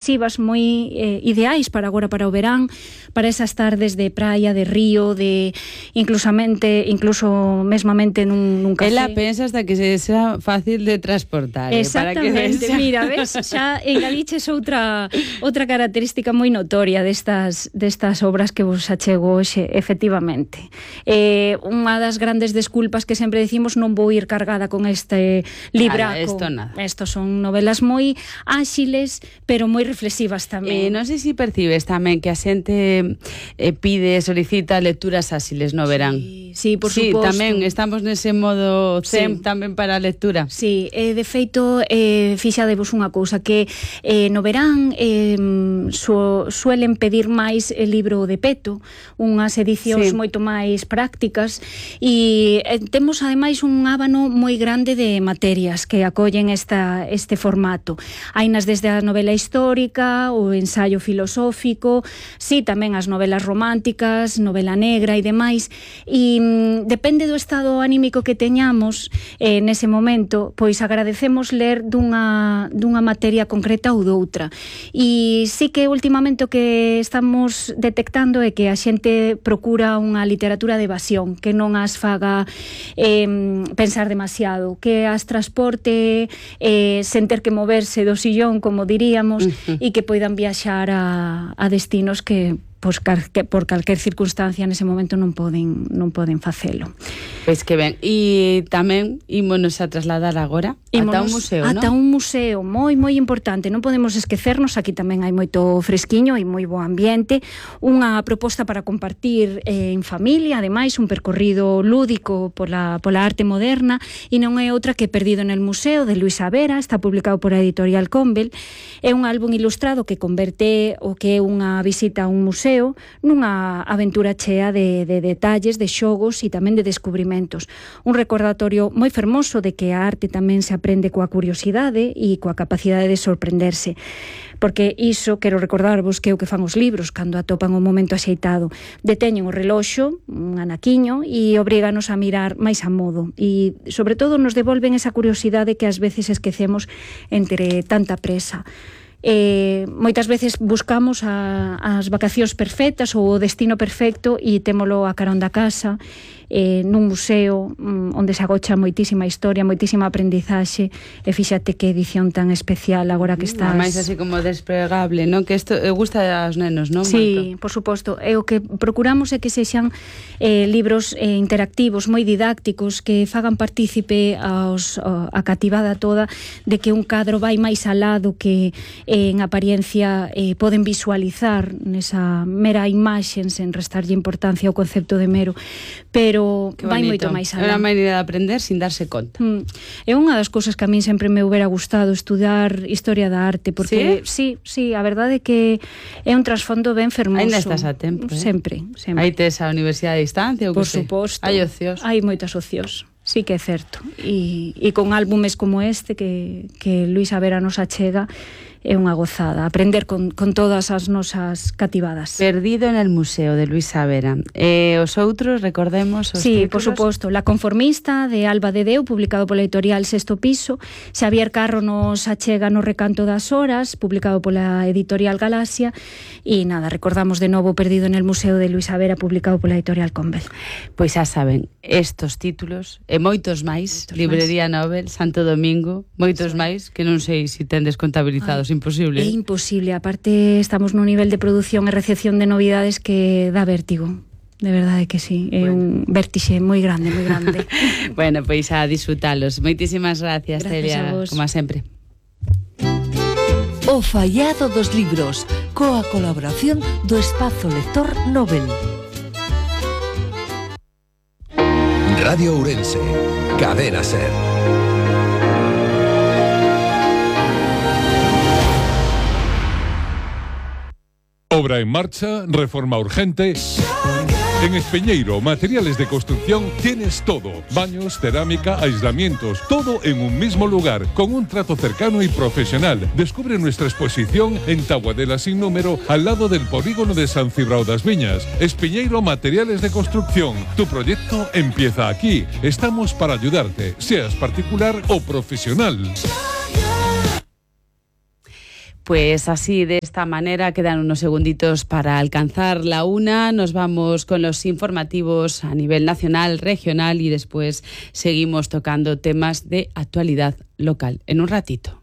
moi ideais para agora, para o verán, para esas tardes de praia, de río, de incluso mesmamente nun café. Ela pensa hasta que sea fácil de transportar. Exactamente, para que mira, ves, xa engadiches outra característica moi notoria destas obras que vos achego hoxe, efectivamente. Unha das grandes desculpas que sempre decimos, non vou ir cargada con este libraco. Estos son novelas moi áxiles, pero moi reflexivas tamén. Non sei se percibes tamén que a xente solicita lecturas áxiles no verán. Sí, por suposto. Tamén estamos nese modo zen tamén para a lectura. Sí, de feito, fixadevos unha cousa, que no verán suelen pedir máis el libro de peto, unhas edicións moito máis prácticas, e temos ademais un ábano moi grande de materias que acollen este formato. Hainas desde a novela histórica, o ensaio filosófico, tamén as novelas románticas, novela negra e demais, e depende do estado anímico que teñamos nese momento, pois agradecemos ler dunha materia concreta ou doutra. E sí que últimamente o que estamos detectando é que a xente procura unha literatura de evasión, que non as faga pensar demasiado, que as transporte sen ter que moverse do sillón, como diríamos, e que poidan viaxar a destinos que por calquer circunstancia nese momento non poden facelo. Pois que ben, e tamén ímonos a trasladar agora ata un museo, non? Ata un museo moi importante, non podemos esquecernos, aquí tamén hai moito fresquiño e moi bo ambiente, unha proposta para compartir en familia, ademais un percorrido lúdico pola arte moderna, e non é outra que Perdido en el Museo, de Luisa Vera, está publicado por a editorial Convel. É un álbum ilustrado que converte o que é unha visita a un museo nunha aventura chea de detalles, de xogos e tamén de descubrimentos. Un recordatorio moi fermoso de que a arte tamén se aprende coa curiosidade e coa capacidade de sorprenderse. Porque iso, quero recordarvos, que é o que fan os libros cando atopan o momento axeitado. Deteñen o reloxo, un anaquiño, e obríganos a mirar máis a modo. E, sobre todo, nos devolven esa curiosidade que ás veces esquecemos entre tanta presa. Moitas veces buscamos as vacacións perfectas ou o destino perfecto e témolo a carón da casa, nun museo onde se agocha moitísima historia, moitísima aprendizaxe, e fíxate que edición tan especial agora que estás... máis así como desplegable, non? Que isto gusta aos nenos, non? Sí, por suposto. E o que procuramos é que sexan libros interactivos, moi didácticos, que fagan partícipe a cativada toda de que un cadro vai máis alá do que en apariencia poden visualizar nesa mera imaxe sen restarlle importancia ao concepto de mero, pero vai moito máis alá. É unha maneira de aprender sin darse conta. É unha das cousas que a min sempre me hubiera gustado, estudar historia da arte, porque sí, a verdade é que é un trasfondo ben fermoso. Ainda estás a tempo, Sempre. Aí tes a universidade a distancia, ou por suposto. Hai ocios. Hai moitas ocios. Sí que é certo. E con álbumes como este que Luisa Vera nos achega, é unha gozada aprender con todas as nosas cativadas. Perdido en el Museo, de Luisa Vera. Os outros, recordemos os títulos. Por suposto. La Conformista, de Alba de Deu, publicado pola editorial Sexto Piso. Xavier Carro nos achega No Recanto das Horas, publicado pola editorial Galaxia. E nada, recordamos de novo Perdido en el Museo, de Luisa Vera, publicado pola editorial Convel. Pois xa saben, estos títulos e moitos máis, Librería Nobel, Santo Domingo, moitos máis, que non sei se tendes contabilizados. Imposible. É imposible, aparte estamos nun nivel de produción e recepción de novidades que dá vértigo. De verdade que sí, é un vértixe moi grande, moi grande. Bueno, pois a disfrutalos. Moitísimas gracias, Celia, como sempre. O fallado dos libros, coa colaboración do Espazo Lector Nobel. Radio Ourense, Cadena Ser. Obra en marcha, reforma urgente. En Espeñeiro, materiales de construcción, tienes todo. Baños, cerámica, aislamientos, todo en un mismo lugar, con un trato cercano y profesional. Descubre nuestra exposición en Taboadela sin número, al lado del polígono de San Cibrao das Viñas. Espeñeiro, materiales de construcción. Tu proyecto empieza aquí. Estamos para ayudarte, seas particular o profesional. Pues así, de esta manera, quedan unos segunditos para alcanzar la 1. Nos vamos con los informativos a nivel nacional, regional y después seguimos tocando temas de actualidad local. En un ratito.